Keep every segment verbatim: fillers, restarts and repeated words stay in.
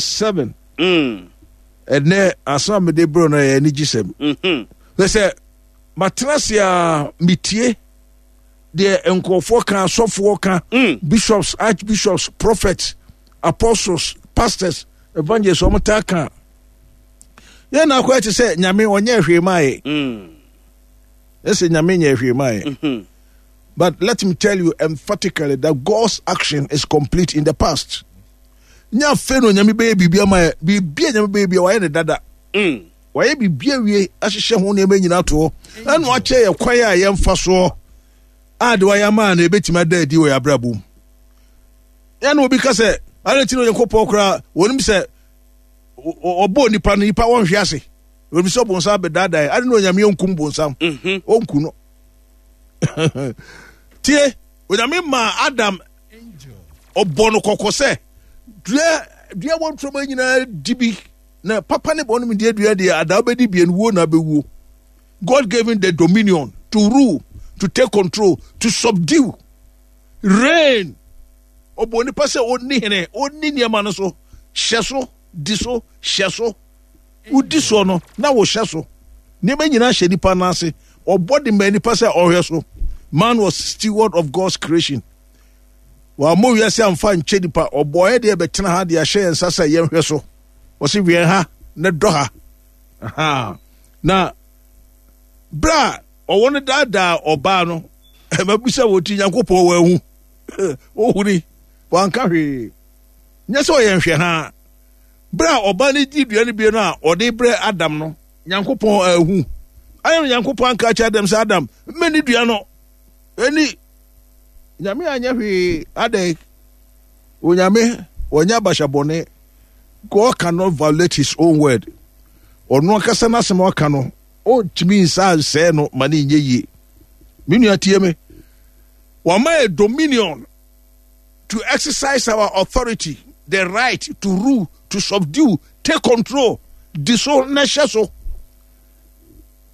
Seven. Mm. Ɛnɛ asɛm a mede brɛ no yɛ anigyesɛm. Mhm. Sɛ sɛ matena ase a metie deɛ nkurɔfoɔ ka, asɔfoɔ ka, Mm. bishops, archbishops, prophets, apostles, pastors, evangelists, wɔn taa ka. Yɛn na akɔyɛ te sɛ Nyame ɔnyɛ hwee maa yɛ. Mm. Ɛsɛ Nyame nyɛ hwee maa yɛ. Mhm. But let me tell you emphatically that God's action is complete in the past. Nya afei na Onyame bɛyɛ biribi ama yɛ. Biribi a Nyame bɛyɛ bi a wayɛ ne dada. Mm. Wayɛ biribi awie ahyehyɛ ho nneɛma nyinaa to hɔ. Ɛna wakyɛ yɛ kwan a yɛmfa soɔ a de wayɛ ama no ebɛtumi ada adi wɔ yɛ abrabɔ mu. Yɛn na obi ka sɛ ade nti na Onyankopɔn koraa wɔnim sɛ ɔbɔɔ nipa no, nipa wɔnhwe ase. Wɔnim sɛ ɔbonsam bɛdaadaa yɛ. Ade na Onyame ɔnkum bonsam. Mhm. Ɔnku no. Tie, Onyame maa Adam ɔbɔ no kɔkɔ sɛ dua dua wɔ ntorɔma nyinaa di bi na papa ne bɔne mu deɛ dua deɛ adaa bɛdi bie no wuo na abɛwuo. God gave him the dominion to rule, to take control, to subdue, reign. Ɔbɔ nipa sɛ ɔnni hene, ɔnni nneɛma no so, hyɛ so, di so, hyɛ so. Wodi soɔ no na wohyɛ so. Nneɛma nyinaa hyɛ nipa no ase. Ɔbɔ de ma nipa sɛ ɔhwɛ so. Man was steward of God's creation. Wɔammɔ wiase amfa nkyɛ nipa. Ɔbɔeɛ deɛ bɛtena ha de ahyɛ yɛn nsa sɛ yɛnhwɛ so. Wɔsi wɛn ha na dɔ ha. Aha. Na berɛ a ɔwɔ no daadaa ɔbaa no, mabisa wɔ ti Nyankopɔn wɔahu. Ohuni, wanka hwee. Nyɛ sɛ ɔyɛ nhwɛ ha. Berɛ a ɔbaa no di dua no bie no a ɔde brɛ Adam no, Nyankopɔn ahu. Ayɛ no Nyankopɔn anka kyerɛ Adam sɛ Adam, mmɛni dua no. Ɛni Nyame anyɛ hwee adɛn. Onyame wɔnyɛ abahyɛ bɔne. God cannot violate his own word. Ɔno ankasa n'asɛm a ɔka no, ɔntumi nsa nsɛe no ma ne nyɛ yie. Me nua tie me. Wɔama yɛ dominion to exercise our authority, the right to rule, to subdue, take control, di so na hyɛ so.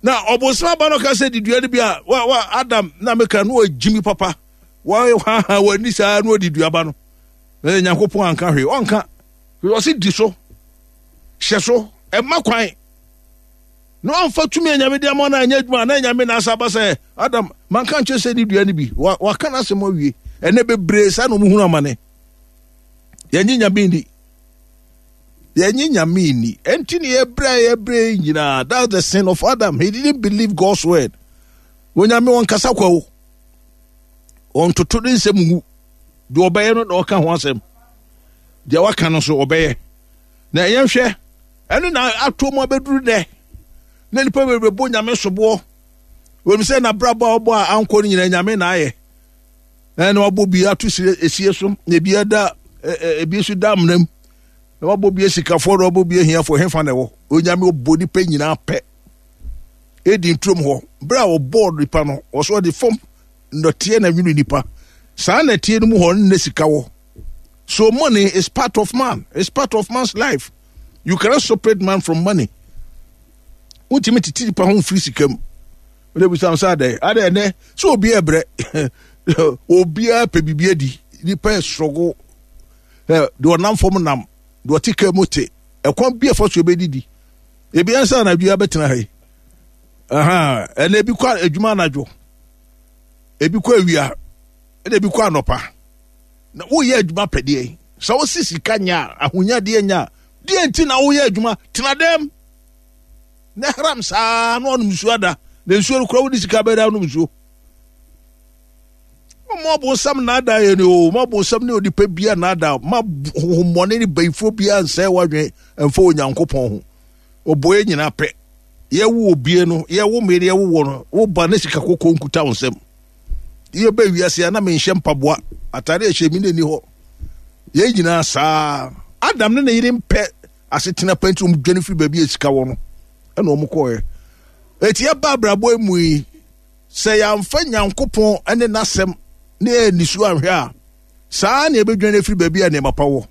Na ɔbonsam aba no ka sɛ di dua no bi a wa wa Adam na meka no ɔgyimi papa. Wa ha ha wani saa na ɔdi dua ba no. Na Nyankopɔn anka hwee. Ɔnka. Ɔse di so. Hyɛ so. Ɛma kwan. Na ɔmfa tumi a Nyame de ama no anyɛ adwuma na Nyame na asa aba sɛ Adam manka nkyerɛ sɛ di dua no bi. Waka n'asɛm awie. Ɛnɛ bebree saa na ɔmo hunu amane. Yɛnye Nyame ni. Yɛnye Nyame ni. Ɛnti ne yɛbrɛ yɛbrɛ nyinaa. That's the sin of Adam. He didn't believe God's word. Onyame ɔnkasa kwa o. Ɔntoto ne nsɛm ngu. Deɛ ɔbɛyɛ no na ɔka ho asɛm. Deɛ waka no nso ɔbɛyɛ. Na yɛnhwɛ ɛno na ato mu abɛduru dɛ. Na nipa bebree bɔ Nyame soboɔ. Wɔnim sɛ n'abrabɔ a ɔbɔ a ankɔ no nyinaa Nyame na ayɛ. Ɛna wabɔ bi ato esie so, na ebi ada ebi nso da amena mu. Na wabɔ bi asikafoɔ na wabɔ bi ahiafoɔ, hefa na ɛwɔ? Onyame ɔbɔ nipa nyinaa pɛ. Edi nturom hɔ. Bere a ɔbɔɔ nipa no, ɔso ɔde fam nnɔteɛ na nwene nipa. Saa nnɔteɛ no mu hɔ no na sika wɔ. So money is part of man. It's part of man's life. You cannot separate man from money. Wontumi tete nipa ho mfiri sika mu. Wode bisa sɛ adɛn? Adɛn ɛnɛ sɛ obi ɛbrɛ. Obiara pɛ biribi adi. Nipa ɛsorogo. Deɛ ɔnam fam nam, deɛ ɔte kaa mu te. Ɛkwan bi a ɛfa so ebɛdidi. Ebi ansa anadwo yi abɛtena ha yi. Ɛnɛ ebi kɔ adwuma anadwo. Ebi kɔ awia. Ɛna ebi kɔ anɔpa. Na woyɛ adwuma pɛdeɛ. Sɛ wosi sika nya a, ahonyadeɛ nya a, deɛ nti na woyɛ adwuma? Tena dɛm. Na haram saa na ɔnom nsuo ada. Na nsuo no kora wode sika bɛda ɔnom nsuo. Mo abonsam naadaa yɛ ni o. Mo abonsam ne onipa bia naadaa. Ma honhommɔne ne bayifoɔ bia nsɛe wadwen mfa Onyankopɔn ho. Ɔbɔ yɛ nyinaa pɛ. Yɛwo obie no, yɛwo me ne yɛwo wɔ no, woba ne sika kɔkɔɔ nkuta wo nsam. Yɛbɛ wiase a na menhyɛ mpaboa. Atare a ɛhyɛ mi na ɛni hɔ. Yɛn nyinaa saa. Adam ne ne yere mpɛ asetena pa nti wɔn dwane firi baabi a sika wɔ no ɛna wɔn kɔɛ. Eti ɛba abrabɔ mu yi, sɛ yɛamfa Nyankopɔn ne n'asɛm ne yɛ nisuo anhwɛ a, saa na yɛbɛdwane afiri baabi a nneɛma pa wɔ.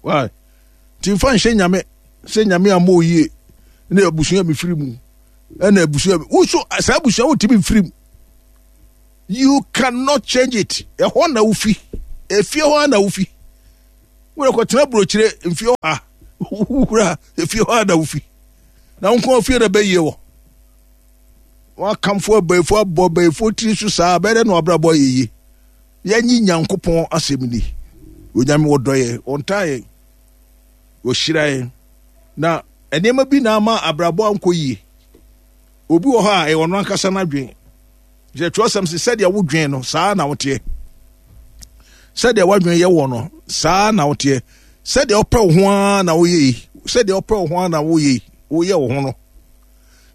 Why? Nti mfa nhyɛ Nyame sɛ Nyame ammɔ oyie ne abusua mi firi mu ɛna abusua mi woso saa abusua wotumi mfiri mu. You cannot change it. Ɛhɔ na wofi. Efie hɔ na wofi. Wode kɔtena burokyire mfie ɔha wura efie hɔ a na wofi na wo nko fie na bɛyie wɔ wakamfo abayifo abɔ abayifo tiri so saa bɛyɛ dɛ na wabrabɔ ayɛ yie. Yɛnyi Nyankopɔn asɛm ni. Onyame wɔdɔ yɛn, ɔntaa yɛn, ɔhyira yɛn. Na nneɛma bi na ama abrabɔ ankɔ yie. Obi wɔ hɔ a ɛyɛ ɔno ankasa n'adwen. Sɛ twerɛsɛm sɛ sɛdeɛ wodwen no saa na woteɛ. Sɛdeɛ w'adwen yɛ wɔ no saa na woteɛ. Sɛdeɛ wopɛ wo ho ara na woyɛ yi. Sɛdeɛ wopɛ wo ho ara na woyɛ yi. Woyɛ wo ho no.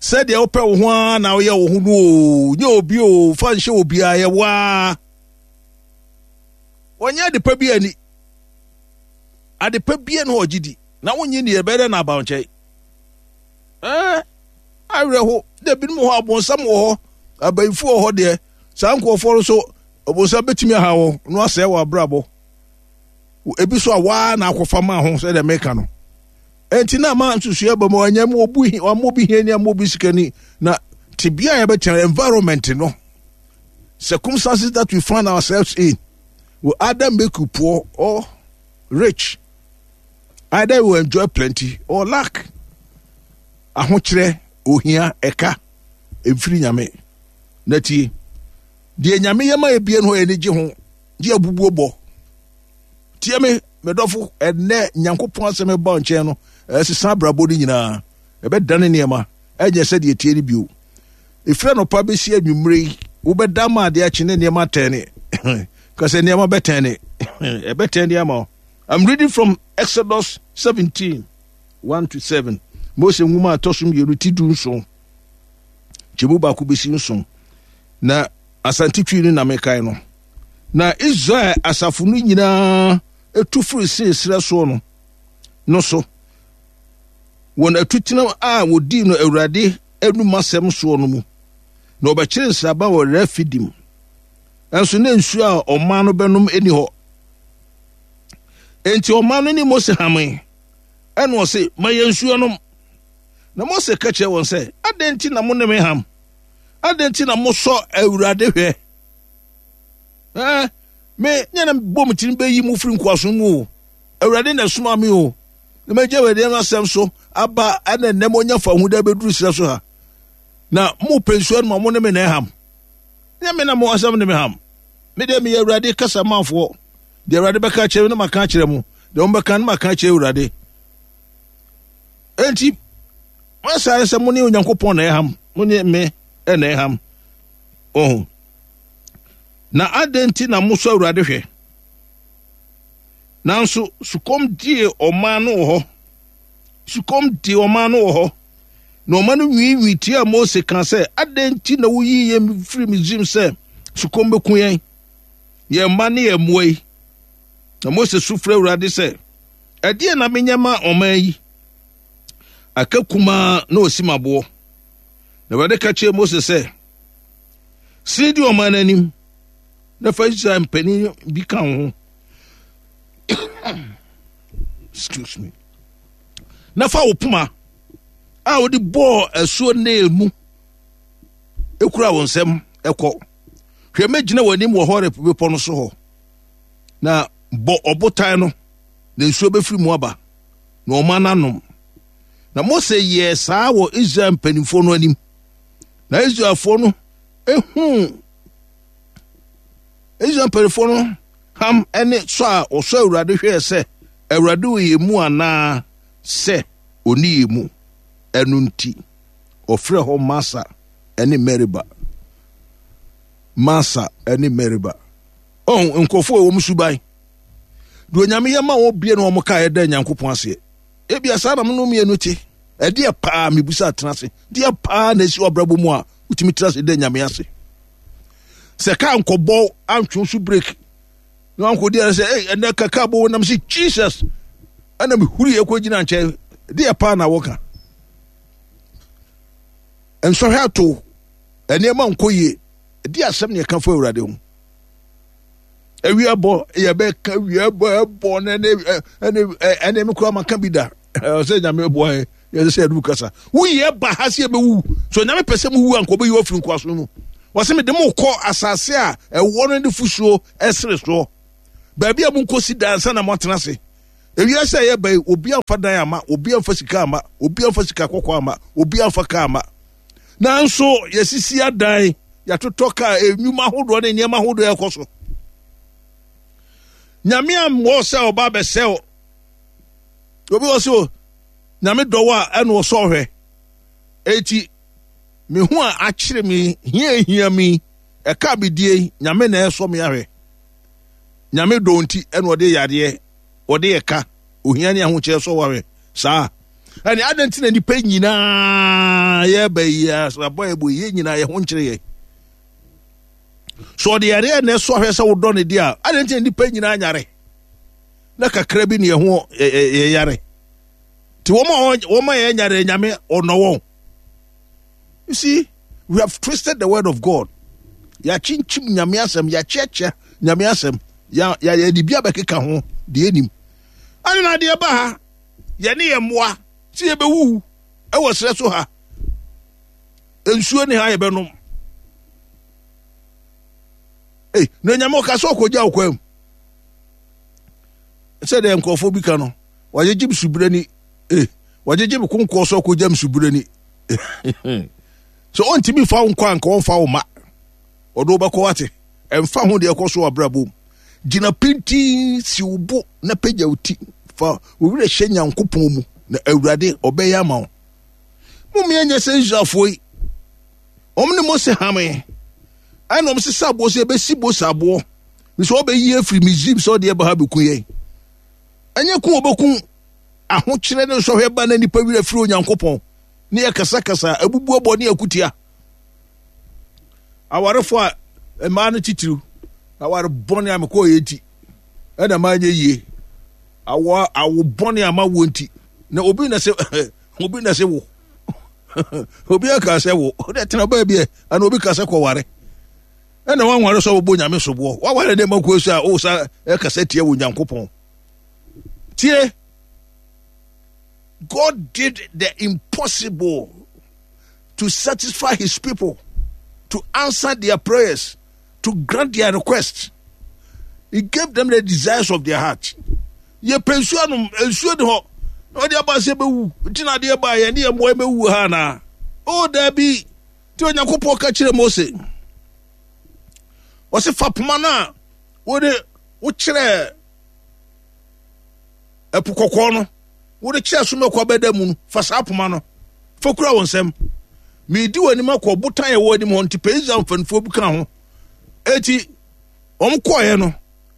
Sɛdeɛ wopɛ wo ho ara na woyɛ wo ho no o. Nyɛ obi o, fa nhyɛ obiara yɛ wo ara. Wɔnyɛ adepa bi ani. Adepa bi na ɔgye di. Na wonye ni ɛbɛyɛ dɛ na aba nkyɛn. Ɛɛ awerɛho dɛ binom wɔ hɔ abonsam wɔ hɔ abayifo wɔ hɔ deɛ saa nkurɔfoɔ no so ɔbonsam bɛtumi aha wɔn na wasɛe wɔn abrabɔ. Ebi so a waa na akɔfa maa ho sɛdeɛ meka no. Enti na ama nsusuɛ ba mu ɛnyɛ mu obu wɔn obi hiani ama obi sikani na tebea a yɛbɛtena environment no circumstances that we find ourselves in will either make you poor or rich. Either you enjoy plenty or lack. Ahokyerɛ, ohia, ɛka, mfiri Nyame. Na tie, deɛ Nyame yɛ ma ebie no hɔ ani gye ho, gye abubuo bɔ. Tie me, medɔfo, ɛnɛ Nyankopɔn asɛm ɛba nkyɛn no, ɛsesa abrabɔ no nyinaa. Ɛbɛdane nneɛma, ɛnyɛ sɛdeɛ tie no bio. Ɛfiri anɔpa bɛsi anwummere yi, wobɛda ma adeɛ akye ne nneɛma atɛne. Ka sɛ nneɛma bɛtɛne. Ɛbɛtɛne ama wo. I'm reading from Exodus seventeen, one to seven. Mose nwoma a ɛtɔ so mmienu ti du nson. Kyɛmu baako bɛsi nson. Na Asante Twi no na mekae no. Na Israel asafo no nyinaa tu firi Sin serɛ soɔ no no so. Wɔn atutena a wɔdii no Awurade anum asɛm soɔ no mu. Na wɔbɛkyere nsraban wɔ Refidim. Nso na nsuo a ɔman no bɛnom nni hɔ. Enti ɔman no ne Mose hamee. Ɛna ɔse, ma yɛn nsuo nom. Na Mose ka kyerɛ wɔn sɛ, adɛn nti na mo ne me ham? Adɛn nti na mosɔ Awurade hwɛ? Ɛɛ, me nyɛ na bɔ me tirim bɛyi mo firi nkoasom mu o. Awurade na ɛsoma me o. Na magya Awurade no asɛm so aba ɛna nnɛ moanya fa ho dɛ bɛduru serɛ so ha. Na mopɛ nsuo no ma mo ne me na ɛham. Nyɛ me na mo asɛm ne me ham. Me deɛ meyɛ Awurade kasa manfoɔ. Deɛ Awurade bɛka akyerɛ me na maka akyerɛ mo. Deɛ wɔbɛka no maka akyerɛ Awurade. Enti, moasa sɛ mo ne Onyankopɔn na ɛham. Mo ne me na ɛham. Oh. Na adɛn nti na mosɔ Awurade hwɛ? Nanso sukɔm dee ɔman no wɔ hɔ. Sukɔm dee ɔman no wɔ hɔ. Na ɔman no nwiinwii tiaa Mose kaa sɛ, adɛn nti na woyii yɛn firi Misraim sɛ sukɔm bɛku yɛn, yɛn mma ne yɛn mmoa yi? Na Mose su frɛ Awurade sɛ, ɛdeɛn na menyɛ ma ɔman yi? Aka kumaa na ɔsi m'aboɔ. Na Awurade ka kyerɛɛ Mose sɛ, sene di ɔman no anim na fa Israel mpanin bi ka wo ho. Excuse me. Na fa wo poma a wode bɔɔ asuo Nil mu ekura wo nsam ɛkɔ. Hwɛ, mɛgyina w'anim wɔ Horeb bepɔ no so hɔ. Na bɔ ɔbotan no, na nsuo bɛfiri mu aba, na ɔman no anom. Na Mose yɛɛ saa wɔ Israel mpanimfoɔ no anim. Na Israelfoɔ no ehuu Israel mpanimfoɔ no ham ne sɔ a wɔsɔ Awurade hwɛɛ sɛ Awurade wɔ yɛn mu anaa sɛ ɔni yɛn mu. Ɛno nti, ɔfrɛ hɔ Masa ne Meriba. Masa ne Meriba. Ɔn, nkurɔfoɔ a wɔn suban. Deɛ Onyame yɛ ma wɔn bie na wɔn kaeɛ da Nyankopɔn aseɛ. Ebia saa na mo no mmienu te. Ɛdeɛ paa mebusa tena ase. Deɛ paa na esi w'abrabɔ mu a wotumi tena ase da Nyame ase. Sɛ kaa nkɔbɔ antwe so break na wankɔdi ara sɛ ei ɛnɛ ka kaa bɔ nam sɛ Jesus ɛna mehuri ɛkɔ gyina nkyɛn. Deɛ paa na wɔka. Nsɔhwɛ ato nneɛma nkɔ yie. Ɛdeɛ asɛm na yɛka fa Awurade ho. Awia bɔ yɛbɛka awia bɔ ɛbɔ ne ne ɛne ɛne me koraa maka bi da sɛ Nyame boa yɛ yɛsɛ sɛ yɛde kasa woyɛ ba ha sɛ yɛbɛwu so Nyame pɛ sɛ mowu a nka ɔbɛyi wafiri nkoaso mu wɔsɛ mede mo kɔ asase a ɛwɔ no ne fusuo ɛsere soɔ baabi a monkɔsi da ansa na moatena ase Ewiase a yɛba yi, obi amfa dan ama, obi amfa sika ama, obi amfa sika kɔkɔɔ ama, obi amfa kaa ama. Nanso yɛsisi adan, yɛatotɔ kaa, nnwuma ahodoɔ ne nneɛma ahodoɔ ɛkɔ so. Nyame ammɔ sɛ ɔba abɛsɛ o. Obi wɔ so, Nyame dɔ wo a ɛna ɔsɔ ɔhwɛ. Eti me ho a akyere me, hia hia mi, ɛka me die, Nyame na ɛsɔ me ahwɛ. Nyame dɔ nti ɛna ɔde yadeɛ, ɔde ɛka, ohia ne ahokyerɛ sɔ wahwɛ. Saa. Ɛne adɛn nti na nnipa nyinaa yɛba yi abɔ yɛbɔ yi nyinaa yɛ ho nkyerɛ yɛ. So ɔde yareɛ na ɛsɔ ahwɛ sɛ wodɔ ne deɛ a, adɛn nti na nnipa nyinaa nyare? Na kakra bi ne ɛho yɛyare. Nti wɔn a wɔn a yɛnyare Nyame ɔnɔ wɔn. You see, we have twisted the word of God. Yɛakyinkyim Nyame asɛm, yɛakyeakyea Nyame asɛm, yɛde bi abɛkeka ho deɛ anim. Ɛne na adeɛ ba ha, yɛne yɛn mmoa sɛ yɛbɛwuwu ɛwɔ serɛ so ha. Nsuo ne ha yɛbɛnom. Ei, na Nyame ɔka sɛ ɔkɔgya wo kwam. Sɛdeɛ nkurɔfoɔ bi ka no, wagyegye me subire ni. Eh, wagyegye me konkoɔ sɛ ɔkɔgya me subire ni. Sɛ ɔntumi fa wo nkɔ anka ɔmfa wo ma. Ɔde wobɛkɔ wate. Ɛmfa ho deɛ ɛkɔ so wɔ abrabɔ mu. Gyina pintinn, si wo bo na pagya wo ti. Fa wo werɛ hyɛ Nyankopɔn mu na Awurade ɔbɛyɛ ama wo. Mommea nyɛ sɛ Israelfoɔ yi. Wɔn ne Mose hamee. Ɛna wɔn sesa aboɔ sɛ yɛbɛsi Mose aboɔ. Sɛ ɔbɛyi afiri Misraim sɛ ɔde ɛba ha bɛku yɛn. Ɛnyɛ ku ɔbɛku ahokyerɛ ne nsɔhwɛ ba na nipa werɛ firi Onyankopɔn ne yɛ kasakasa abubuabɔ ne akutia. Awarefo a mmaa no titiriw aware bɔne a mekɔɔ yɛ nti ɛna manyɛ yie. Awo awo bɔne a mawo nti na obi na sɛ obi na sɛ wo obi aka sɛ wo ɔde tena baabi ɛ ana obi ka sɛ kɔware ɛna wanware sɛ wobɔ Nyame soboɔ waware dɛ makuo so a wo sa ɛkasa tia wɔ Nyankopɔn. Tie, God did the impossible to satisfy his people, to answer their prayers, to grant their requests. He gave them the desires of their heart. Yɛpɛ nsuo anom, nsuo ni hɔ. Na ɔde aba sɛ bɛwu. Nti na adeɛ baa yɛn ne yɛn mmoa bɛwu ha anaa? Oh, daabi. Nti Onyankopɔn ka kyerɛ Mose. Ɔse fa poma no a wode wokyerɛɛ ɛpo kɔkɔɔ no, wode kyerɛ so mɛkɔ abɛda mu no, fa saa poma no fa kura wo nsam. Medi w'anim akɔ ɔbotan a ɛwɔ anim hɔ. Nti pɛ Israel mpanimfoɔ bi ka ho. Eti wɔn kɔɔeɛ no,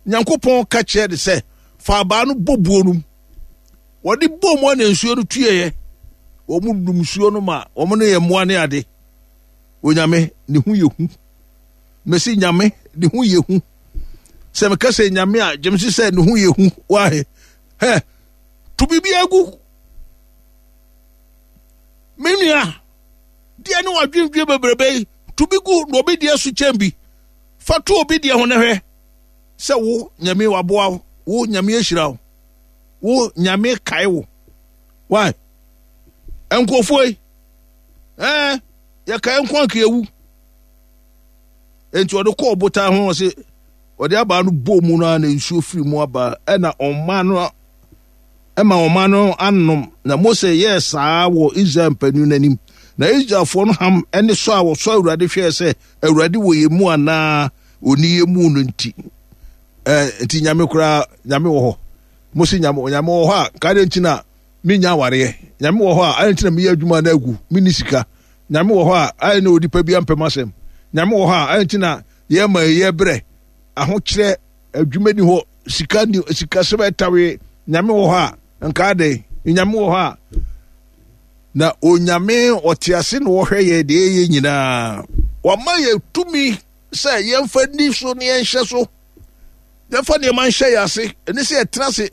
Nyankopɔn ka kyerɛ de sɛ fa abaa no bɔ buo no mu. Wɔde bɔ mu a na nsuo no tueɛ. Wɔn num nsuo no ma wɔn ne yɛ mmoa ne ade. Onyame ne ho yɛ hu. Mesi Nyame ne ho yɛ hu. Sɛ meka sɛ Nyame a, gyem se sɛ ne ho yɛ hu. Wahe hɛ to biribi agu. Me nua, deɛ ne wadwendwen bebrebe yi, to bi gu na obi deɛ so kyɛn bi. Fa to obi deɛ ho na hwɛ sɛ wo Nyame waboa wo, wo Nyame ahyira wo, wo Nyame kae wo. Why? Nkurɔfoɔ yi, ɛɛ yɛkae nko anka yɛwu. Enti ɔde kɔɔ ɔbotan ho, ɔse ɔde abaa no bɔɔ mu no a na nsuo firi mu aba, ɛna ɔma no ɛma ɔma no anom. Na Mose yɛɛ saa wɔ Israel mpanyin no anim. Na Israelfoɔ no ham ne sɔ a wɔsɔ Awurade hwɛɛ sɛ Awurade wɔ yɛn mu anaa ɔni yɛn mu no nti. Ɛɛ nti Nyame koraa, Nyame wɔ hɔ. Mose Nyame, Nyame wɔ hɔ a, nka adɛn nti na menya awareɛ? Nyame wɔ hɔ a, adɛn nti na meyɛ adwuma na agu, menni sika? Nyame wɔ hɔ a, adɛn na onipa bi ampɛ m'asɛm? Nyame wɔ hɔ a, adɛn nti na yɛma yɛ brɛ, ahokyerɛ, adwuma ni hɔ, sika ni, sikasɛm ɛtawe? Nyame wɔ hɔ a, nka adɛn? Nyame wɔ hɔ a, na Onyame ɔte ase na ɔhwɛ yɛ deɛ yɛyɛ nyinaa. Wama yɛ tumi sɛ yɛmfa ni so ne yɛnhyɛ so, yɛmfa nneɛma nhyɛ yɛ ase, ɛne sɛ yɛtena ase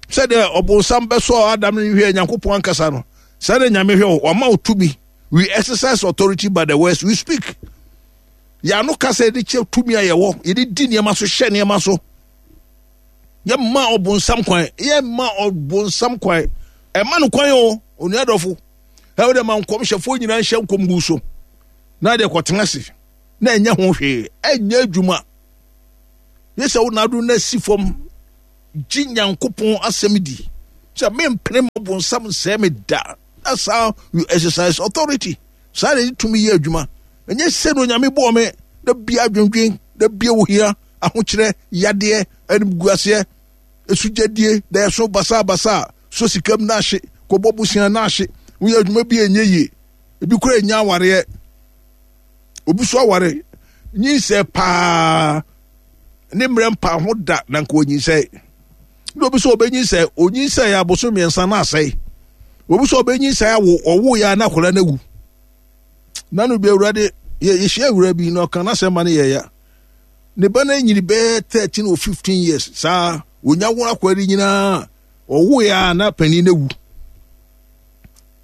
sɛdeɛ ɔbonsam bɛsɔ Adam no hwɛ Nyankopɔn ankasa no, saa na Nyame hwɛ wo. Wama wo tumi. We exercise authority by the words we speak. Yɛano kasa yɛde kyɛ tumi a yɛwɔ, yɛde di nneɛma so, hyɛ nneɛma so. Yɛmma ɔbonsam kwan, yɛmma ɔbonsam kwan. Ɛma no kwan o, onua dɔfo. Ɛwɔ dɛ ma nkɔmhyɛfoɔ nyinaa nhyɛ nkɔm gu so. Na deɛ kɔtena ase na ɛnyɛ ho hwee, ɛnyɛ adwuma. Yɛ sɛ wo nado na si fam Gye Nyankopɔn asɛm di sɛ mempene ma bonsam nsɛe me da. That's how you exercise authority. Saa na yɛde tumi yɛ adwuma. Ɛnyɛ sɛ na Onyame bɔɔ me da bia adwendwen, da bia ohia, ahokyerɛ, yadeɛ, animguaseɛ, esugyadie, da ɛso basabasa, so sikam na ahye, kɔbɔ bosea na ahye, woyɛ adwuma bi a ɛnyɛ yie, ebi kora ɛnya awareɛ, obi so aware, nyinsɛ paa, ne mmerɛ mpa ho da na nka onyinsɛ. Na obi so ɔbɛnyinsɛ, onyinsɛ yɛ aboso mmiɛnsa na asɛe. Obi so ɔbɛnyinsɛ awo, ɔwo yɛ na akwadaa no awu. Na no bi awurade, yɛ yɛhyia awura bi na ɔka n'asɛm ma no yɛ ya. Ne ba no anyini bɛyɛ thirteen or fifteen years saa, onya wo akwadaa no nyinaa, ɔwo yɛ a na panin no awu.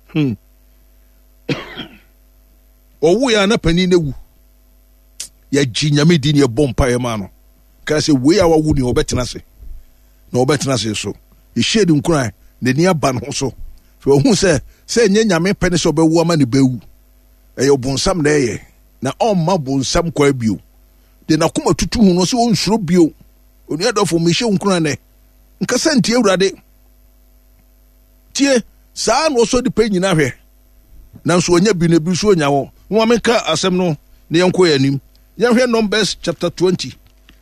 Hmm. Ɔwo yɛ a na panin no awu. Yɛgye Nyame di ne yɛbɔ mpaeɛ maa no. Kaa sɛ wei a wawo ni ɔbɛtena ase. Na ɔbɛtena ase so. Yɛhyɛ ne nkuran, n'ani aba ne ho so. Fɛ ɔhu sɛ sɛ ɛnyɛ Nyame pɛ ne sɛ ɔbɛwo ama ne bɛwu. Ɛyɛ ɔbonsam na ɛyɛ. Na ɔmma bonsam kwan bio. De n'akoma tutu ho no sɛ ɔnsuro bio. Onua dɔfo, mehyɛ wo nkuran nɛ. Nkasa ntie Awurade. Tie, saa na ɔsɔ nipa nyinaa hwɛ. Nanso ɔnya bi no, ebi nso ɔnya wɔ. Momma menka asɛm no na yɛnkɔ yɛn anim. Yɛnhwɛ Numbers chapter twenty.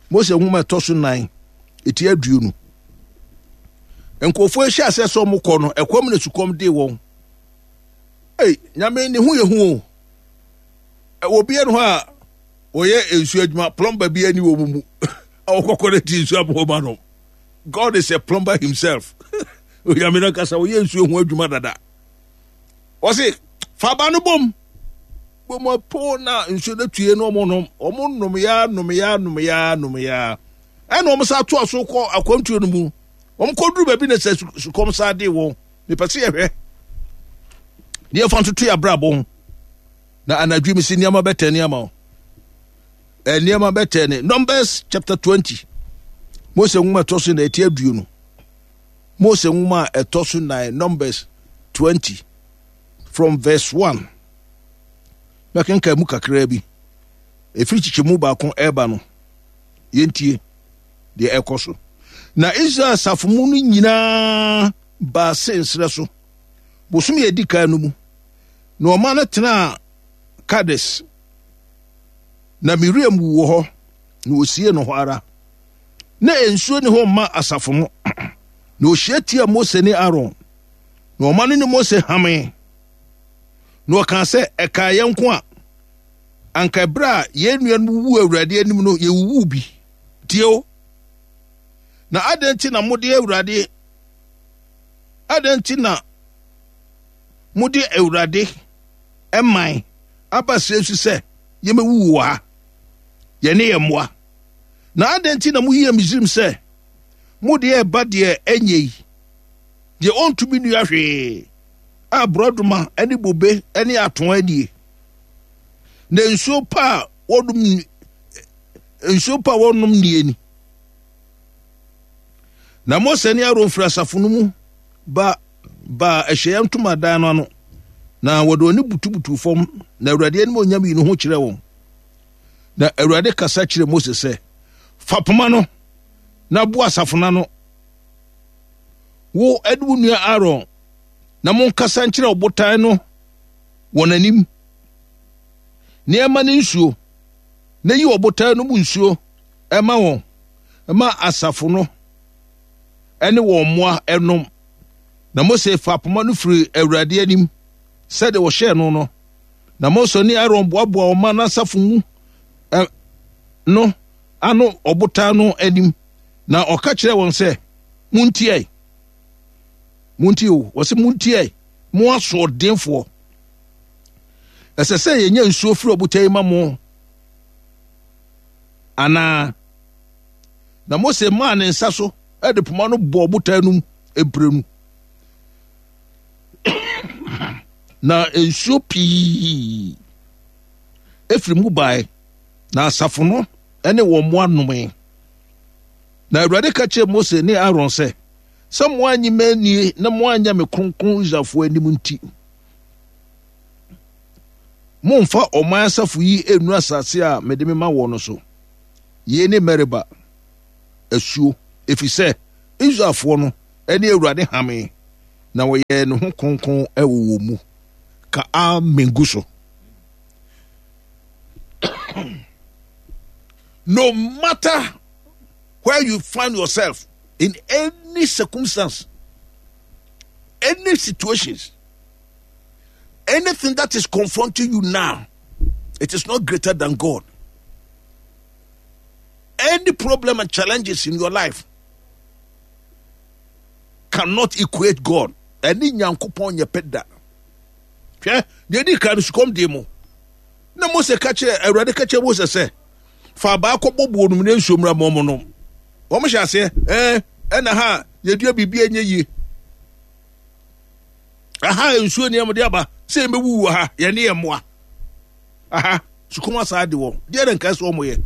Mose nwoma ɛtɔ so nan, eti aduonu. Nkurɔfoɔ ahyɛ aseɛ sɛ wɔn kɔ no, ɛkɔm na sukɔm dee wɔn. Ei, Nyame ne ho yɛ hu o. Ɛwɔ bi ɛno hɔ a wɔyɛ nsuo adwuma, plumber bi ani wɔ mu mu. A wɔkɔkɔ no ti nsuo abɔ ma no. God is a plumber himself. Onyame no ankasa wɔyɛ nsuo ho adwuma dada. Wɔse, fa ba no bom. Bom apo na nsuo no tue no wɔn nom. Wɔn nom ya, nom ya, nom ya, nom ya. Ɛna wɔn sa toa so kɔ akwantuo no mu. Wɔn kɔduru baabi na sɛ sukɔm sa de wɔn. Mepɛ sɛ yɛhwɛ. Ne yɛfa ntoto yɛ abrabɔ ho. Na anadwo mi si nneɛma bɛtɛ nneɛma o. Nneɛma bɛtɛ ne. Numbers chapter twenty. Mose nwoma ɛtɔ so na ɛti aduonu. Mose nwoma a ɛtɔ so nine, Numbers twenty from verse one. Mɛkenkan mu kakraa bi. Ɛfiri kyekyɛmu baako ɛreba no, yɛntie deɛ ɛkɔ so. Na Israel asafo mu no nyinaa baa Sin serɛ so, bosome a ɛdi kan no mu, na ɔma no tenaa Kades. Na Miriam wu wɔ hɔ, na wɔsiee no hɔ ara. Na nsuo ni hɔ mma asafo no. Na ɔhyia tia Mose ne Aaron, na ɔma no ne Mose hamee. Na ɔkaa sɛ, ɛkaa yɛn nko a, anka ɛberɛ a yɛn nuanom wuwuu Awurade anim no, yɛwuwuu bi. Tie o. Na adɛn nti na mode Awurade, adɛn nti na mode Awurade man aba serɛ so sɛ yɛmɛwuwu wɔ ha, yɛne yɛn mmoa? Na adɛn nti na moyii Misraim sɛ mode ɛreba deɛ ɛnyɛ yi, deɛ ɔntumi nnua hwee, a borɔdoma ne bobe ne atoa nie, na nsuo pa a wɔnom nsuo pa a wɔnom nie ni? Na Mose ne Aaron firi asafo no mu ba baa ahyiaeɛ ntomadan no ano, na wɔde wɔn ani butubutuu fam, na Awurade animuonyam yii ne ho kyerɛɛ wɔn. Na Awurade kasa kyerɛɛ Mose sɛ, fa poma no na boa asafo no ano, wo ne wo nua Aaron, na monkasa nkyerɛ ɔbotan no wɔn anim, na ɛma no nsuo, na yi ɔbotan no mu nsuo ɛma wɔn, ɛma asafo no ɛne wɔn mmoa ɛnom. Na Mose fa poma no firi Awurade anim sɛdeɛ wɔhyɛɛ no no. Na Mose ne Aaron boaboa ɔman no asafo mu no ano ɔbotan no anim, na ɔka kyerɛɛ wɔn sɛ, Montie, montie o, wɔsɛ montie, mo asoɔdenfoɔ. Ɛsɛ sɛ yɛnya nsuo firi ɔbotan yi ma mo anaa? Na Mose maa ne nsa so de poma no bɔɔ ɔbotan no mu mprenu. Na nsuo pii efiri mu bae, na asafo no ne wɔn mmoa nomee. Na Awurade ka kyerɛɛ Mose ne Aaron sɛ, sɛ moannye me annie na moanyɛ me kronkron Israelfoɔ anim nti, mommfa ɔman asafo yi nnu asase a mede mema wɔn no so. Yei ne Meriba asuo, ɛfiri sɛ Israelfoɔ no ne Awurade hamee, na wɔyɛɛ ne ho kronkron wɔ wɔn mu. Ka amen gu so. No matter where you find yourself, in any circumstance, any situations, anything that is confronting you now, it is not greater than God. Any problem and challenges in your life cannot equate God. Ɛne Nyankopɔn nyɛ pɛ da. Hwɛ, deɛ ɛdi kan no sukɔm dee mo. Na Mose ka kyerɛ, Awurade ka kyerɛ Mose sɛ, fa abaa kɔbɔ buo no mu na nsuo mmra ma wɔn nom. Wɔn hyɛ aseɛ, ɛɛ, ɛna ha yɛdua biribi a ɛnyɛ yie. Aha nsuo ni ɛmode aba sɛ yɛbɛwu wɔ ha, yɛne yɛn mmoa. Aha, sukɔm asaa de wɔn. Deɛ na nka sɛ wɔn yɛ.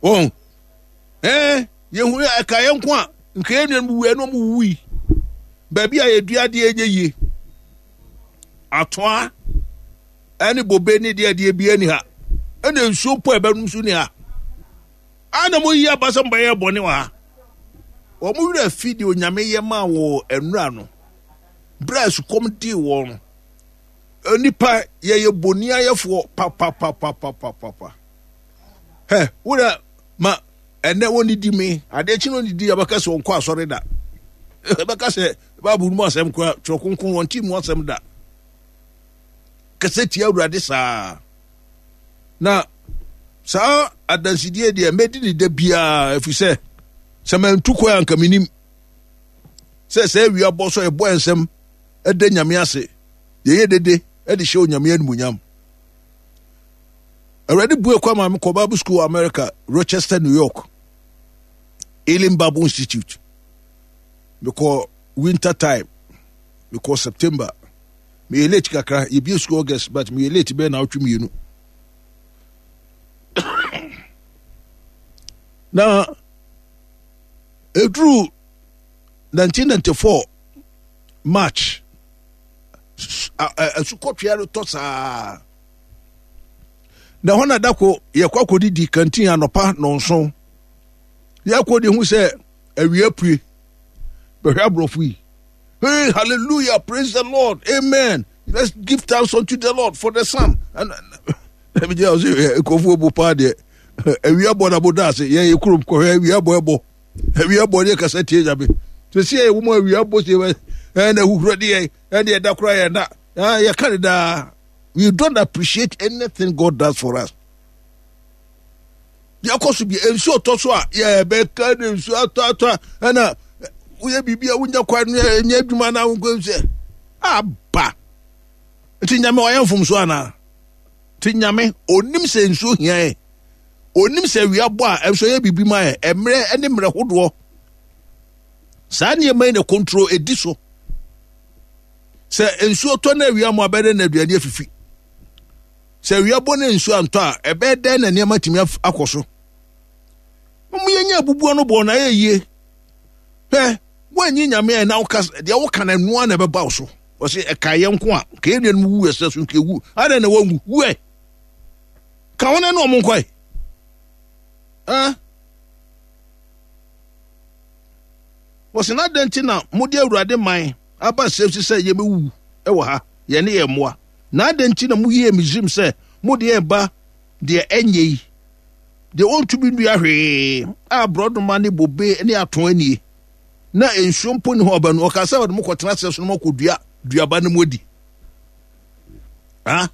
Wɔn, ɛɛ, yɛhu ɛka yɛn nko a, nka yɛn nuanom wu ɛna wɔn wuwui. Baabi a yɛdua adeɛ nyɛ yie. Atoa ɛne bobe ne deɛ deɛ bi ani ha. Ɛna nsuo mpo a ɛbɛnom so ni ha. Ana mo yi aba sɛ mbɛyɛ bɔne wɔ ha. Wɔn werɛ afi deɛ Onyame yɛ maa wɔ nnura no. Berɛ a sukɔm dii wɔn no. Nipa yɛyɛ boniayɛfoɔ papapapapapapa. Hɛ, wura ma ɛnɛ wɔnidi me adeɛ kyi no ɔnidi abɛka sɛ ɔnkɔ asɔre da. Ɛbɛka sɛ Bible mu asɛm kora twerɛ kronkron wɔnte mu asɛm da. Kɛsɛ tia Awurade saa. Na saa adansidie deɛ mɛdi ne da biara ɛfiri sɛ sɛ mantu kwan anka menim sɛ sɛ awia bɔ so ɛbɔ nsɛm ɛda Nyame ase yɛyɛ dede ɛde hyɛ Onyame animuonyam. Awurade bue kwan ma mekɔ Bible School wɔ America, Rochester, New York, Elim Bible Institute. Mekɔ winter time, mekɔ September. Meyɛ late kakra, yɛbie school August, but meyɛ late bɛyɛ naawɔtwe mmienu. Na ɛduru nineteen ninety-four March, asukɔtwea no tɔ saa. Na hɔ na dako yɛkɔ akɔdidi kantin anɔpa nɔnson. Yɛkɔ de hu sɛ awia pue. Bɛhwɛ aborɔfo yi. Hey, hallelujah, praise the Lord, amen. Let's give thanks unto the Lord for the sun. And nkurɔfoɔ bu paa deɛ awia bɔ na boda ase yɛn yɛ kurom kɔhwɛ awia bɔ ɛbɔ awia bɔ deɛ kasa tie nyame sɛsi yɛ wɔn awia bɔ sie ɛna ahuhuro deɛ ɛna ɛda koraa yɛn da yɛka ne daa. We don't appreciate anything God does for us. Yɛkɔ so bi nsuo tɔ so a yɛbɛka ne nsuo atɔ atɔ a ɛna woyɛ biribi a wonya kwan no ɛnyɛ adwuma na wonkɔ sɛ aba. Nti nyame ɔyɛ mfomso anaa? Nti nyame onim sɛ nsuo hia yɛ. Onim sɛ awia bɔ a ɛnso ɛyɛ biribi ma yɛ. Mmerɛ ne mmerɛ hodoɔ. Saa nneɛma yi na control edi so. Sɛ nsuo tɔ na awia mu abɛdɛ na aduane afifi. Sɛ awia bɔ na nsuo antɔ a ɛbɛyɛ dɛn na nneɛma tumi akɔ so. Mo yɛnyɛ abubuo no bɔ na ɛyɛ yie. Hwɛ, woanyi nyame a na woka deɛ woka no ɛnoa na ɛbɛba wo so. Wɔse ɛka yɛ nko a nka yɛn nuanom wu ɛsɛ so nka ewu. Adɛn na wɔnwu? Wu ɛ. Ka wɔn ne wɔn nkɔe. Eh? Wɔse na adɛn nti na mode Awurade man aba sɛ si sɛ yɛbɛwu wɔ ha, yɛne yɛn mmoa? Na adɛn nti na moyɛɛ Misraim sɛ mode yɛn ba deɛ ɛnyɛ yi, deɛ wɔntumi nnua hwee, a borɔdoma ne bobe ne atõ anie, na nsuo mpo nni hɔ aba no? Ɔkaa sɛ wɔde mo kɔtena serɛ so na moakɔdua duaba no mu adi. Ha?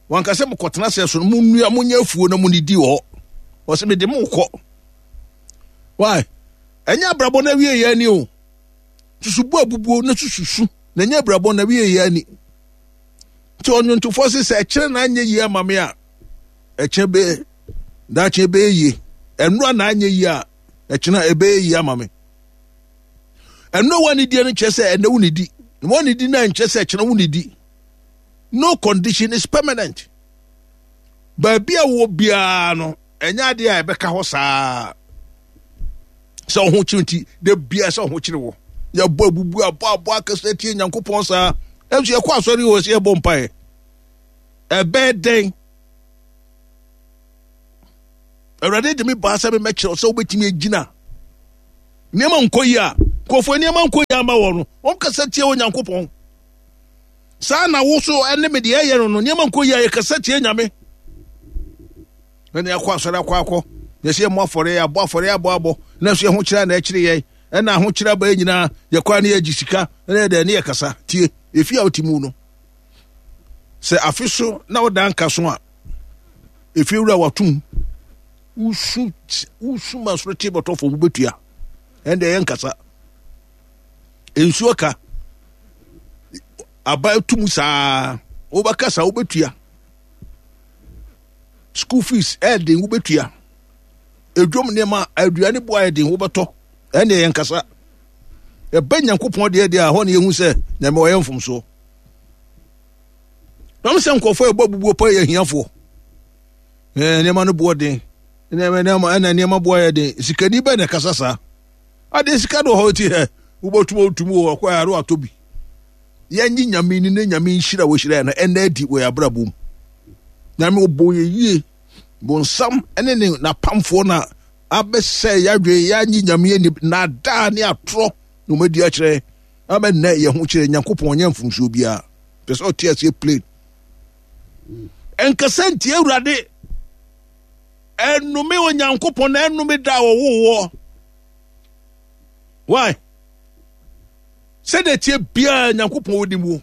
Wanka sɛ mokɔtena serɛ so no monnua, monyɛ afuo na monidi wɔ hɔ. Ɔsɛ mede mo kɔ. Why? Ɛnyɛ abrabɔ no awie yɛ ani o. Susubu abubuo na sususu na ɛnyɛ abrabɔ no awie yɛ ani. Nti ɔnwontofoɔ se sɛ ɛkyerɛ na anyɛ yie ama me a, ɛkyɛ bɛ daakye ɛbɛyɛ yie. Ɛnora na anyɛ yie a, ɛkyena ɛbɛyɛ yie ama me. Ɛnora wanidie no kyerɛ sɛ ɛnɛ wonidi. Na wanidi no nkyerɛ sɛ ɛkyena wonidi. No condition is permanent. Baabi a wɔ biara no, ɛnyɛ adeɛ a ɛbɛka hɔ saa. Sɛ ɔho kyerɛ nti, da biara sɛ ɔho kyerɛ wɔ. Yɛbɔ abubu abɔ abɔ akɛse tie Nyankopɔn saa. Ɛnso yɛkɔ asɔre wɔ sɛ yɛbɔ mpaeɛ. Ɛbɛyɛ dɛn? Awurade de me baa sɛ memmɛkyerɛ sɛ wobɛtumi agyina nneɛma nkɔ yi a nkurɔfoɔ nneɛma nkɔ yi ama wɔ no, wɔn kasa tia Onyankopɔn. Saa na wo so ɛne me deɛ ɛyɛ no no, nneɛma nkɔ yi a yɛkasa tia Nyame. Ɛna yɛakɔ asɔre akɔ akɔ, yɛsɛ yɛmmɔ afɔre, yɛabɔ afɔre abɔ abɔ, na nso yɛho kyerɛ na ɛkyerɛ yɛn, ɛna ahokyerɛ aba yɛn nyinaa, yɛkɔ a ne yɛgye sika, ɛna yɛdɛ ne yɛkasa tie efi a wote mu no. Sɛ afe so na woda nka so a, efi wura watom, wosu wosu ma soro te bɔtɔ fam wobɛtua, ɛnde ɛyɛ nkasa. Nsuo ka aba tum saa, wobɛkasa wobɛtua. School fees ɛɛden wobɛtua. Edwom nneɛma aduane bo ayɛ den wobɛtɔ, ɛnde ɛyɛ nkasa. Ɛbɛ Nyankopɔn deɛ deɛ a hɔ ne yɛhu sɛ Nyame ɔyɛ mfomsoɔ. Nam sɛ nkurɔfoɔ ɛbɔ abubuo pa yɛ ahiafoɔ. Ɛɛ nneɛma no boɔ den. Nneɛma nneɛma ɛna nneɛma boɔ ayɛ den. Sikani bɛn na ɛkasa saa? Adeɛ sika do hɔ ti hɛ wobɛtum otum wɔ ɔkɔ ayɛ atɔ bi. Yɛnye Nyame ni ne Nyame nhyira wɔhyira no ɛnna adi wɔ yɛn abrabɔ mu. Nyame ɔbɔ yɛ yie. Bonsam ɛne ne n'apamfoɔ na abɛsɛ yɛadwe yɛanye Nyame ani naadaa ne atorɔ na wɔn adi akyerɛ ama nnɛ yɛn ho kyerɛ Nyankopɔn nyɛ mfomsoɔ biara. Pɛ sɛ ɔte aseɛ plain. Ɛnkasa ntie Awurade. Ɛnnome Onyankopɔn na ɛnnome da a wɔwoo wɔ. Why? Sɛdeɛ tie biara Nyankopɔn onim wo.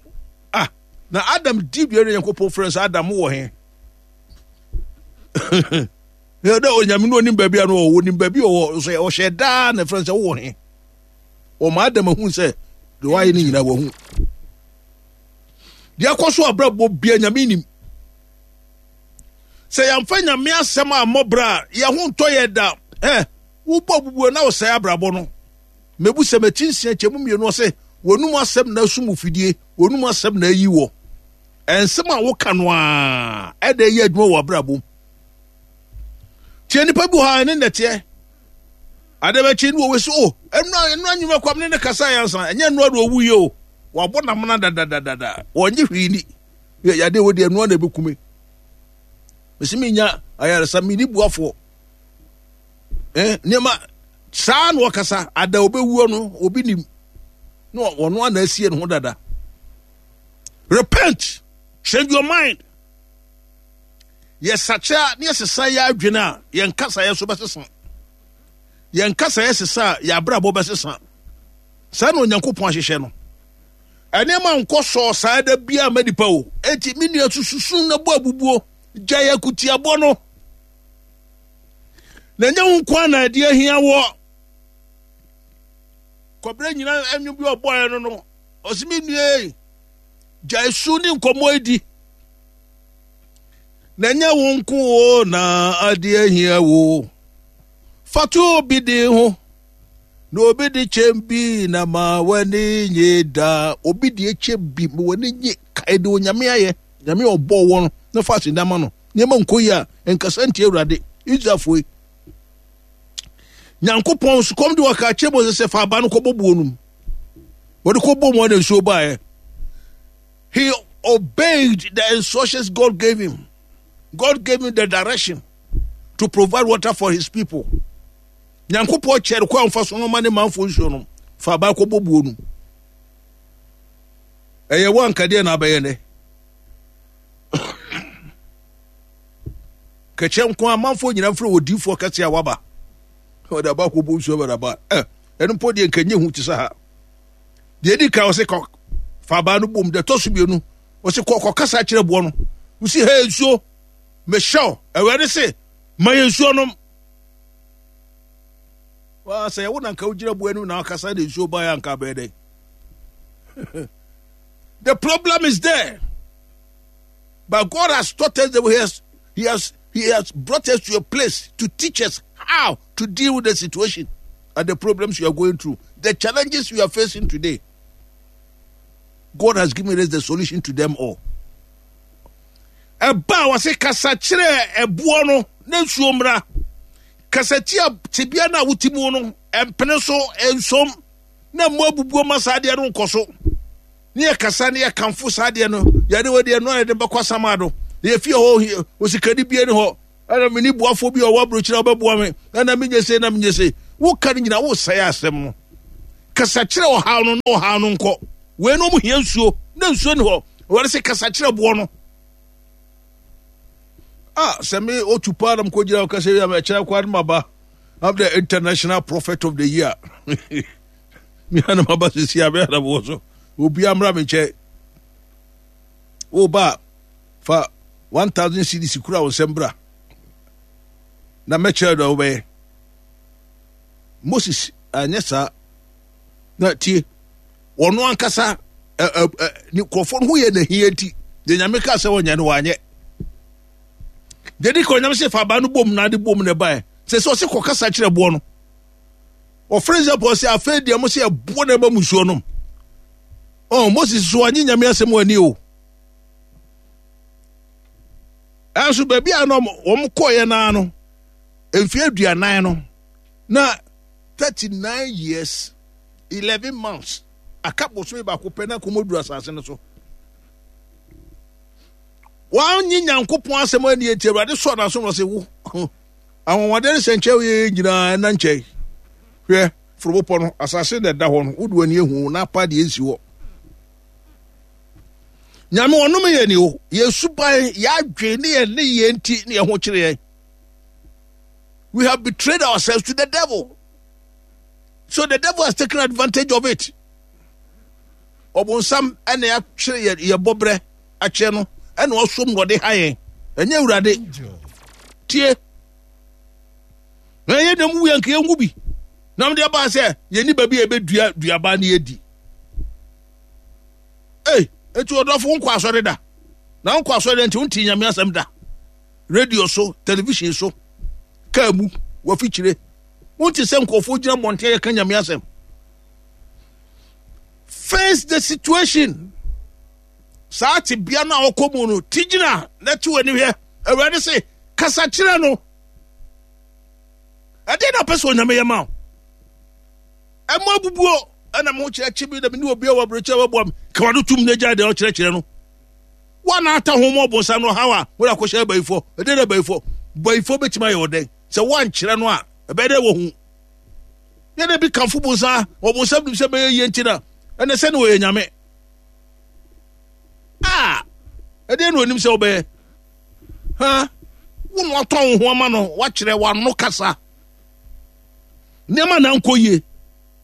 Ah, na Adam di dua no Nyankopɔn frɛ sɛ Adam wɔ he? Dɛ Onyame no onim baabi a no wɔ, onim baabi ɔwɔ, so ɔhyɛ daa na frɛ sɛ wowɔ he? Ɔma Adam ahu sɛ deɛ wayɛ no nyinaa wahu. Deɛ akɔ so abrabɔ bia Nyame nim. Sɛ yɛmfa Nyame asɛm a mmɔbrɛ a yɛn ho ntɔ yɛ da. Eh, wobɔ bubuo na wosɛe abrabɔ no. Mebu sɛ mɛkyi nsia kyɛ mu mmienu ɔsɛ wɔnum asɛm na asum fidie, wɔnum asɛm na ayi wɔ. Ɛnsɛm a woka no a ɛda ɛyɛ adwuma wɔ abrabɔ mu. Tie nipa bi wɔ ha ɛne nnɛteɛ. Ade bɛkye ne wɔwɔ si o ɛnura ɛnura nyuma kwam ne ne kasa yɛn nsa ɛnyɛ ɛnura de owu yie o. Wabɔ namena dadadadada wɔnye hwee ni. Yɛ yade wɔ deɛ ɛnura na ebɛkume. Mesi mi nya ayaresa mi ni buafoɔ. Eh nneɛma saa na ɔkasa ada obɛwuo no obi nim na ɔno ana asie ne ho dada. Repent, change your mind. Yɛsakyɛ ne yɛsesa yɛ adwene a yɛn kasa yɛ so bɛsesa. Yɛn kasa yɛ sesa a yɛ abrabɔ bɛsesa. Saa na Onyankopɔn ahyehyɛ no. Ɛnneɛma nkɔ sɔɔ saa da biara ma nipa o. Eti me nua sususu na bɔ abubuo gya yɛ kutiabɔ no. Na ɛnyɛ wo nko na ɛde ahia wɔ. Kɔbrɛ nyinaa ɛnwom bi ɔbɔɛ no no. Ɔsi me nua yi gya esu ne nkɔmmɔ edi. Na ɛnyɛ wo nko o na ade ahia wo. Fatu obi de ho. Na obi de kyɛm bi na ma w'ani nye da. Obi de kyɛm bi ma w'ani nye kae de Onyame ayɛ. Nyame ɔbɔ wɔ no na fa aseda ma no. Nneɛma nkɔ yi a nkasa ntie Awurade. Israelfoɔ yi. Nyankopɔn sukɔm de wɔka kyerɛ Moses sɛ fa aba no kɔbɔ buo no mu. Wɔde kɔbɔ mu na nsuo baeɛ. He obeyed the instructions God gave him. God gave him the direction to provide water for his people. Nyankopɔn kyerɛ kwan fa so no ma ne manfo nsuo no. Fa aba kɔbɔ buo no. Ɛyɛ wo anka deɛ na abɛyɛ nɛ. Kɛkyɛ nko amanfoɔ nyinaa mfrɛ odiyifoɔ kɛse a waba. Ɔde aba kɔbɔ nsuo aba aba. Ɛ ɛno mpo deɛ nka nye hu te sɛ ha. Deɛ edi kan ɔse kɔ fa abaa no bom. Deɛ ɛtɔ so mmienu ɔse kɔ kɔkasa kyerɛ boɔ no. Wosi hɛ nsuo mehyɛw Awurade se ma yɛ nsuo nom. Waa sɛ wo na nka wogyina boɔ anim na wakasa de nsuo baeɛ anka abɛyɛ dɛn? The problem is there. But God has taught us that he has, he has, he has brought us to a place to teach us how to deal with the situation and the problems you are going through, the challenges you are facing today. God has given us the solution to them all. Ɛba a wɔse kasa kyerɛ ɛboɔ no na nsuo mmra. Kasa tia tebea no a wote mu no, ɛmpene so, ɛnsom, na mmoa abubuo ma saa adeɛ no nkɔ so. Ne yɛ kasa ne yɛ kamfo saa adeɛ no, yɛde wɔ deɛ no a yɛde bɛkɔ asamado. Na yɛfie hɔ, osikani bie ne hɔ. Ɛna meni boafoɔ bi a ɔwɔ aburokyire a ɔbɛboa me. Ɛna menyɛ sei na menyɛ sei. Woka no nyinaa wosɛe asɛm no. Kasa kyerɛ ɔhaw no na ɔhaw no nkɔ. Wei no ɔmo hia nsuo na nsuo ni hɔ. Wɔde sɛ kasa kyerɛ boɔ no. Ah, sɛ me otu paa na mekɔgyina ɔka sɛ yɛ ɛkyerɛ kwa no maba. I'm the international prophet of the year. Me ana maba sisi a me ana mewɔ so. Obi amra me nkyɛn. Wo ba fa one thousand cedis kura wo nsɛm bra. Na mɛkyerɛ deɛ wobɛyɛ. Moses anyɛ saa. Na tie, ɔno ankasa ne nkurɔfoɔ no ho yɛ n'ahia nti, deɛ Nyame kaa sɛ ɔnyɛ no wanyɛ. Deɛ di ka Onyame sɛ fa abaa no bom na ade bom na ɛbaeɛ. Sɛ sɛ ɔsɛ kɔkasa kyerɛ boɔ no. Ɔfrɛ Israelfoɔ sɛ afei deɛ mo sɛ ɛboɔ na ɛma mu nsuo nom. Oh, Moses so anye Nyame asɛm ani o. Ɛnso baabi a na wɔn kɔɔeɛ naa no, mfeɛ aduanan no, na thirty nine years eleven months aka bosome baako pɛ na kɔmɔduru asase no so. Wɔanye Nyankopɔn asɛm ani enti Awurade sɔɔ n'aso na ɔse wo anwanwadeɛ ne sɛnkyerɛ yɛ nyinaa ɛna nkyɛn. Hwɛ foro bepɔ no, asase na ɛda hɔ no, wode w'ani ehu na apa deɛ nsi hɔ. Nyame ɔnome yɛ ni o, yɛn suban, yɛn adwene ne yɛn ne yɛn nti ne yɛn ho kyerɛ yɛn. We have betrayed ourselves to the devil. So the devil has taken advantage of it. Ɔbonsam ɛna yɛatwerɛ yɛ yɛ bɔbrɛ akyerɛ no ɛna ɔsom na ɔde ha yɛn. Ɛnyɛ Awurade. Tie. Na yɛn nam wu yɛn nka yɛn wu bi. Na wɔde aba sɛ yɛn ni baabi a yɛbɛdua duaba ne yɛdi. Ei, eti ɔdɔfo nkɔ asɔre da. Na nkɔ asɔre da nti wonte Nyame asɛm da. Radio so, television so, kaa mu, wafikyire. Wonte sɛ nkurɔfoɔ gyina mmɔnten yɛka Nyame asɛm. Face the situation. Saa tebea no a ɔkɔ mu no, ti gyina na te w'ani hwɛ. Awurade se, kasa kyerɛ no. Ɛdeɛ na ɔpɛ sɛ Onyame yɛ ma wo. Ɛmo abubuo ɛna mo kyerɛ kye bi na mene obi a wɔ aburokyerɛ wɔboa me. Ka w'ano tum na gyae deɛ ɔkyerɛkyerɛ no. Woana ata ho ma ɔbonsam no ɔhaw a wode akɔhyɛ abayifoɔ. Ɛdeɛ na abayifoɔ. Bayifoɔ bɛtumi ayɛ ɔdɛn? Sɛ woankyerɛ no a, ɛbɛyɛ dɛ wɔhu. Yɛn bi kamfo bonsam, ɔbonsam nim sɛ bɛyɛ yie nti na ɛnɛ sɛ ne ɔyɛ nyame. Ah, ɛdeɛ na onim sɛ wobɛyɛ. Ha, wo na watɔn wo ho ama no, wakyerɛ w'ano kasa. Nneɛma na nkɔ yie.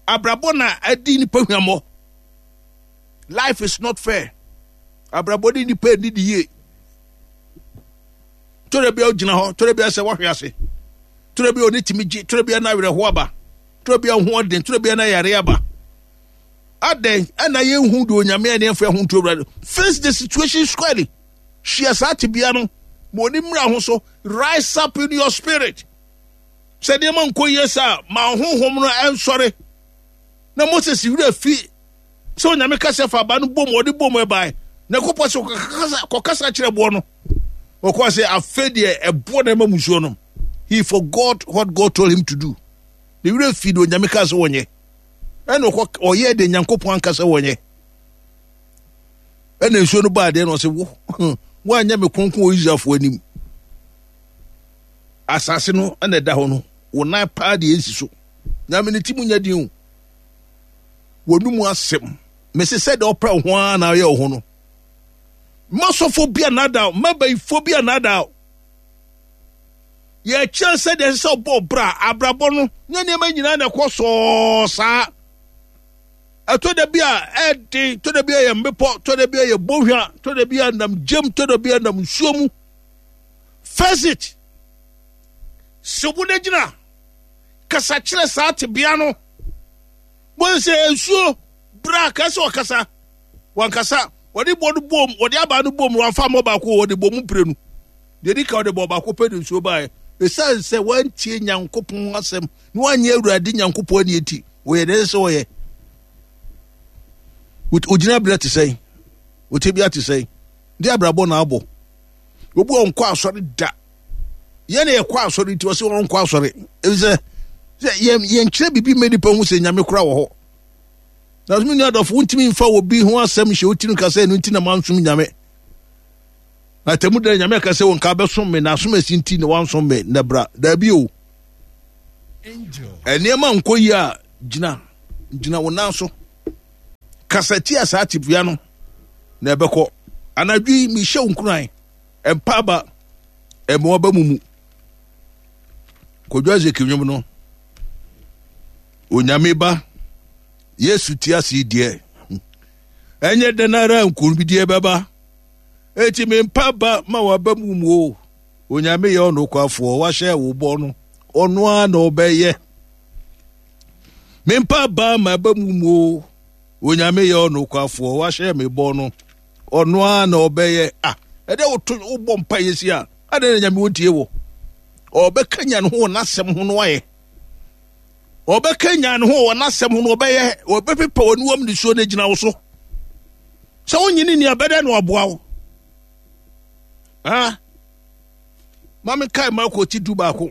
Abrabɔ na adi nipa hwammɔ. Life is not fair. Abrabɔ ne nipa ani di yie. Tɔrɔ bi a ogyina hɔ, tɔrɔ bi a sɛ wɔhwe ase. Tɔrɔ bi a ɔne tumi gye, tɔrɔ bi a na awerɛho aba. Tɔrɔ bi a ho ɔden, tɔrɔ bi a na yare aba. Adɛn ɛna yɛnhu deɛ Onyame a ne yɛmfa ho nto Awurade. Face the situation squarely. Hyia saa tebea no. Ma ɔni mmra ho so. Rise up in your spirit. Sɛ nneɛma nkɔ yie saa, ma honhom no ɛnsɔre. Na Moses werɛ fi sɛ Onyame kasa fa aba no bom, ɔde bom ɛbae. Na ɛkɔpɔ sɛ kɔkasa kɔkasa kyerɛ boɔ no. Ɔkɔ sɛ afei deɛ ɛboɔ na ɛma musuo nom. He forgot what God told him to do. Ne werɛ fi deɛ Onyame kaa sɛ wɔnyɛ. Ɛna ɔkɔ ɔyɛ deɛ Nyankopɔn anka sɛ wɔnyɛ. Ɛna nsuo no baa deɛ na ɔsɛ wo woanyɛ me kronkron wɔ Israelfoɔ anim. Asase no ɛna ɛda hɔ no, wo nan paa deɛ ɛnsi so. Nyame ne ti mu nyɛ den o. Wɔn mu asɛm. Mese sɛ deɛ ɔpɛ wo ho ara na ɔyɛ wo ho no. Mma sɔfo bi anaadaa, mma bayifoɔ bi anaadaa. Yɛkyerɛ sɛ deɛ ɛsɛ sɛ ɔbɔ ɔbra, abrabɔ no, nyɛ nneɛma nyinaa na ɛkɔ sɔɔ saa. Ɛtɔ da bi a ɛden, tɔ da bi a yɛ mmepɔ, tɔ da bi a yɛ bohwa, tɔ da bi a nam gyam, tɔ da bi a nam nsuo mu. Face it. Sɛ wo na gyina, kasa kyerɛ saa tebea no. Wɔn sɛ nsuo bra ka sɛ ɔkasa. Wankasa. Wɔde bɔ no bom, wɔde aba no bom, wɔamfa mmɔ baako, wɔde bɔ mu mprenu. Deɛ di ka wɔde bɔ baako pɛ de nsuo baeɛ. Ɛsiane sɛ wɔantie Nyankopɔn asɛm na wɔanyɛ Awurade Nyankopɔn ani nti, wɔyɛ deɛ ɛsɛ sɛ wɔyɛ. Ogyina berɛ te sɛn? Otebea te sɛn? De abrabɔ na abɔ. Obi a ɔnkɔ asɔre da. Yɛn na yɛkɔ asɔre nti ɔsɛ ɔnkɔ asɔre. Efisɛ sɛ yɛn yɛnkyerɛ biribi mma nipa hu sɛ Nyame kora wɔ hɔ. Na me nua dɔfo, wontumi mfa obi ho asɛm nhyɛ wo tirim ka sɛ ɛno nti na mansom Nyame. Na tɛmu dɛ Nyame aka sɛ wo nka bɛsom me na asom asi nti na wansom me na bra. Daabi o. Nneɛma nkɔ yie a, gyina gyina wo nan so. Kasa tia saa tebea no na ɛbɛkɔ. Anadwo yi mehyɛ wo nkuran. Mpa aba ɛma waba mu mu. Kwadwo Isaac nnwom no. Onyame ba Yesu te ase deɛ. Ɛnyɛ dɛn ara nkonimdie bɛba. Enti me mpa ba ma waba mu mu o. Onyame yɛ ɔnokwafoɔ, wahyɛ wo bɔ no, ɔno ara na ɔbɛyɛ. Me mpa ba ma ba mu mu o. Onyame yɛ ɔnokwafoɔ, wahyɛ me bɔ no, ɔno ara na ɔbɛyɛ. Ah, ɛdɛ woto wobɔ mpa yɛ si a, adɛn na Nyame wɔntie wo? Ɔbɛkanya ne ho wɔ n'asɛm ho no ayɛ. Ɔbɛkanya ne ho wɔ n'asɛm ho no ɔbɛyɛ, ɔbɛpepa w'aniwam nisuo no agyina wo so. Sɛ wonyini ni abɛdɛ na ɔboa wo. Ah, ma menkae Marko ti du baako.